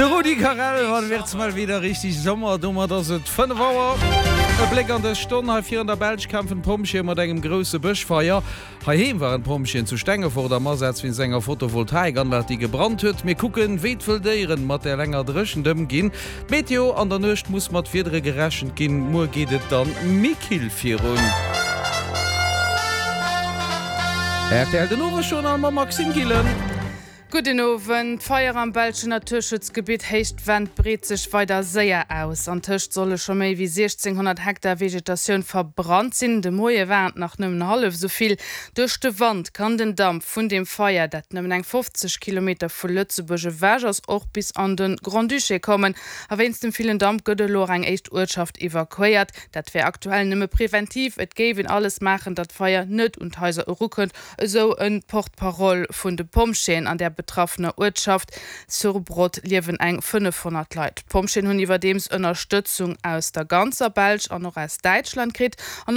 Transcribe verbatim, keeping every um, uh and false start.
De Rudi Carrell, Wann wird's mal wieder richtig Sommer? Domat ass et fënnef Auer. E Bléck an dës Stonn, Hei vir an der Belsch kämpfen d'Pompjeeë mat engem grousse Bëschfeier. Heiheem waren d'Pompjeeën zu Stengefort am Asaz wéinst enger Photovoltaikanlag, déi gebrannt huet. Mir kucken, wéi d'wëll Déieren mat der länger Dréchent ëmginn. D'Meteo, An der Nuecht muss mat Wiedere gerechent ginn, muer geet et dann méi kill virun. Rtl Den Owesjournal mam Maxime Gillen. Gudden Owend. D'Feier am belschen Naturschutzgebitt Héicht Venn breet sech weider séier aus. Antëscht solle scho méi wéi siechzénghonnert Hektar Vegetatioun verbrannt sinn. De Moie waren et nach nëmmen hallef esou vill. Duerch de Wand kann den Damp vun dem Feier, dat nëmmen eng fofzeg Kilometer vu Lëtzebuerg ewech ass, och bis an de Grand-Duché kommen. A wéinst dem villen Damp gëtt elo och eng éischt Uertschaft evakuéiert. Dat wär aktuell nëmme preventiv, et géif een alles maachen, datt d'Feier net un d'Haiser erukënnt, esou e Porte-parole vun de Pompjeeën. An där betraffener Uertschaft Sourbrodt liewen eng fënnefhonnert Leit. D'Pompjeeën hunn iwwerdeems Ënnerstëtzung aus der ganzer Belsch an och aus Däitschland kritt. An